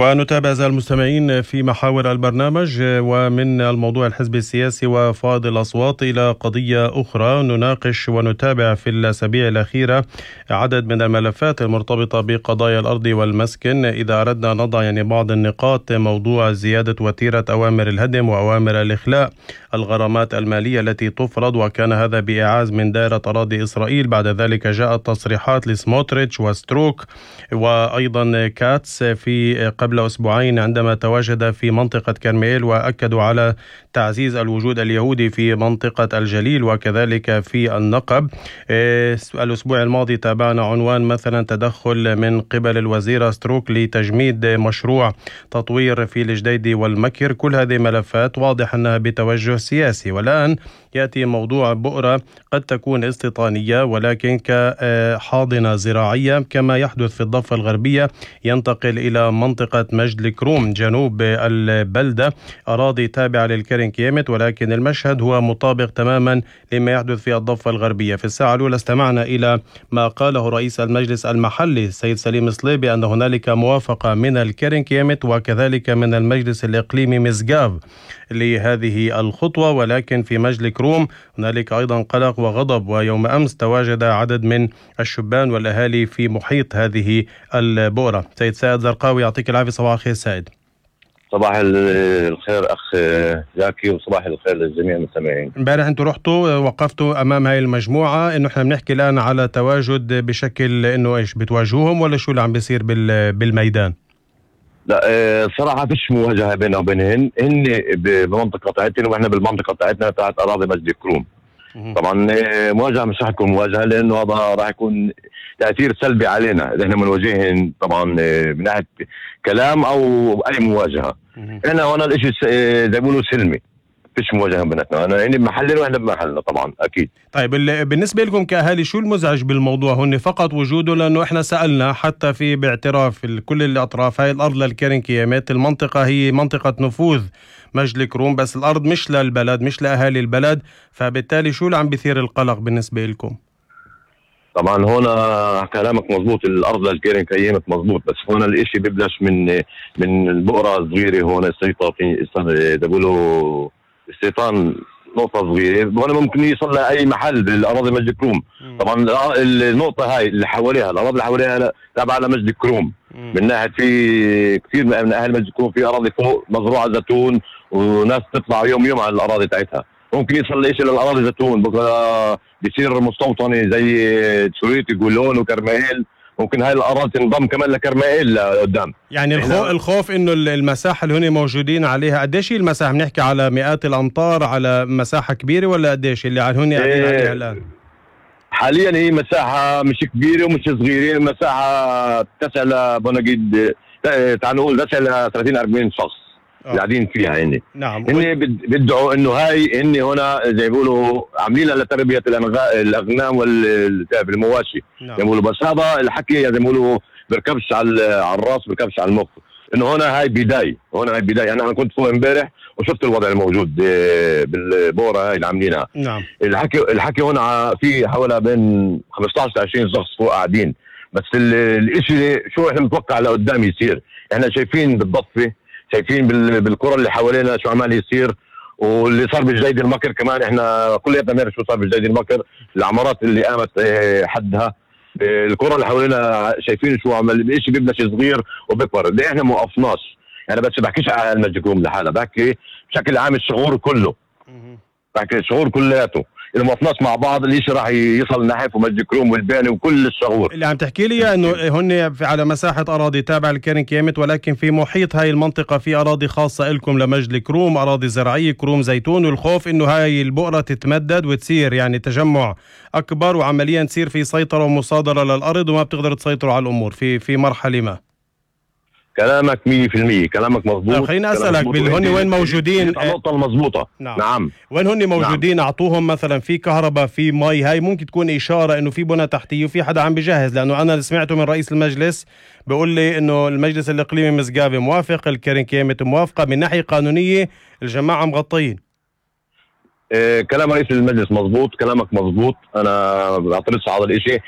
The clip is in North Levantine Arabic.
ونتابع أعزائي المستمعين في محاور البرنامج، ومن الموضوع الحزب السياسي وفائض الأصوات إلى قضية أخرى نناقش ونتابع في الأسابيع الأخيرة عدد من الملفات المرتبطة بقضايا الأرض والمسكن. إذا أردنا نضع بعض النقاط، موضوع زيادة وتيرة أوامر الهدم وأوامر الإخلاء، الغرامات المالية التي تفرض، وكان هذا بإعاز من دائرة أراضي إسرائيل. بعد ذلك جاءت تصريحات لسموتريتش وستروك وأيضا كاتس في قبل أسبوعين عندما تواجد في منطقة كرميل، وأكدوا على تعزيز الوجود اليهودي في منطقة الجليل وكذلك في النقب. الأسبوع الماضي تابعنا عنوان مثلا تدخل من قبل الوزيرة ستروك لتجميد مشروع تطوير في الجديدي والمكر. كل هذه ملفات واضح أنها بتوجه سياسي. والآن يأتي موضوع بؤرة قد تكون استيطانية ولكن كحاضنة زراعية كما يحدث في الضفة الغربية، ينتقل إلى منطقة مجد الكروم جنوب البلدة، أراضي تابعة للكرن كيمت، ولكن المشهد هو مطابق تماما لما يحدث في الضفة الغربية. في الساعة الأولى استمعنا إلى ما قاله رئيس المجلس المحلي السيد سليم صليبي أن هنالك موافقة من الكرن كيمت وكذلك من المجلس الإقليمي مسقاف لهذه الخطوة، ولكن في مجد الكروم هنالك أيضا قلق وغضب. ويوم أمس تواجد عدد من الشبان والأهالي في محيط هذه البؤرة. سيد سائد زرقاوي، يعطيك العافية. صباح الخير سائد. صباح الخير أخ زاكي، وصباح الخير للجميع المستمعين. امبارح انتم رحتوا وقفتوا أمام هاي المجموعة، إنه احنا بنحكي الآن على تواجد بشكل إنه إيش بتواجهوهم ولا شو اللي عم بيصير بالميدان؟ لا صراحة فيش مواجهة بيننا وبينهن، هن بمنطقة بتاعتنا وإحنا بالمنطقة بتاعتنا تحت أراضي مجد الكروم. طبعا مواجهة مش رح تكون مواجهة، لأنه هذا راح يكون تأثير سلبي علينا إذا احنا بنواجههم طبعا من ناحية كلام أو أي مواجهة. احنا هون الاشي زي ما بيقولوا سلمي، فيش مواجهة بيناتنا، أنا يعني بمحلنا وإحنا بمحلنا طبعا أكيد. طيب بالنسبة لكم كأهالي شو المزعج بالموضوع؟ هن فقط وجوده، لأنه إحنا سألنا حتى في باعتراف كل الأطراف هاي الأرض للكرن كيامات، المنطقة هي منطقة نفوذ مجد الكروم، بس الأرض مش للبلد مش لأهالي البلد، فبالتالي شو اللي عم بيثير القلق بالنسبة لكم؟ طبعا هنا كلامك مزبوط، الأرض للكرن كيامات مزبوط، بس هنا الاشي بيبلش من البؤرة الصغيرة. هون السيطرة بيقولوا استيطان نقطة صغيرة، هون ممكن يصل لأي محل بالأراضي مجد الكروم. طبعا النقطة هاي اللي حواليها، الأراضي اللي حواليها تابعة لمجد الكروم. من ناحية في كثير من أهل مجد الكروم في أراضي فوق مزروعة زيتون، وناس تطلع يوم على الأراضي تاعتها، ممكن يصل لإيش للأراضي زيتون، بكرة بيصير مستوطنة زي سوريتي جولون وكرمائيل، ممكن هاي الأراضي تنضم كمان لكرمائيل لقدام. يعني الخوف إنه المساحة اللي هن موجودين عليها قديش هي المساحة؟ بنحكي على مئات الأمتار، على مساحة كبيرة، ولا قديش اللي هن قاعدين عليها الآن؟ حاليا هي مساحة مش كبيرة ومش صغيرة، مساحة تسع بنقيد تعال نقول تسع ل 30-40 شخص قاعدين فيها. يعني نعم، هن بدعوا انه هاي هن هنا زي بيقولوا عاملينها لتربية الاغنام والمواشي. نعم. زي بيقولوا، بس هذا الحكي زي بيقولوا بركبش على الراس، بركبش على المخ، انه هنا هاي بداية، هنا هاي بداية. انا كنت فوق امبارح وشفت الوضع الموجود بالبورة هاي اللي عاملينها. نعم. الحكي هنا في حوالي بين 15-20 شخص فوق قاعدين، بس الاشي شو احنا متوقع لقدام يصير. احنا شايفين بالضفة، شايفين بالقرى اللي حوالينا شو عمال يصير، واللي صار بجديد المكر كمان. احنا كلياتنا بنعرف شو صار بجديد المكر، العمارات اللي قامت حدها، القرى اللي حوالينا شايفين شو عمل. الاشي بيبلش صغير وبكبر، ليه احنا ما وقفناش؟ انا بس بحكيش على المجد الكروم لحالها، بحكي بشكل عام الشعور كله، بحكي الشعور كلياته. إذا ما وقفناش مع بعض الاشي راح يصل نحف ومجد الكروم والباني وكل الشعور. اللي عم تحكي لي انه هن على مساحة اراضي تابعة لكرن كيامت، ولكن في محيط هاي المنطقة في اراضي خاصة لكم لمجد الكروم، اراضي زراعية كروم زيتون، والخوف انه هاي البؤرة تتمدد وتصير يعني تجمع اكبر، وعمليا تصير في سيطرة ومصادرة للارض وما بتقدر تسيطروا على الامور في مرحلة ما. كلامك 100%، كلامك مظبوط. خليني أسألك هن وين موجودين؟ النقطة المضبوطة. نعم. وين هن موجودين؟ نعم. أعطوهم مثلا في كهرباء، في مي، هاي ممكن تكون إشارة إنه في بنى تحتية وفي حدا عم بجهز، لأنه أنا سمعته من رئيس المجلس بيقول لي إنه المجلس الإقليمي مسقاف موافق، الكرن كيامت موافقة، من ناحية قانونية الجماعة مغطين. كلام رئيس المجلس مظبوط، كلامك مظبوط، أنا بعترضش على الإشي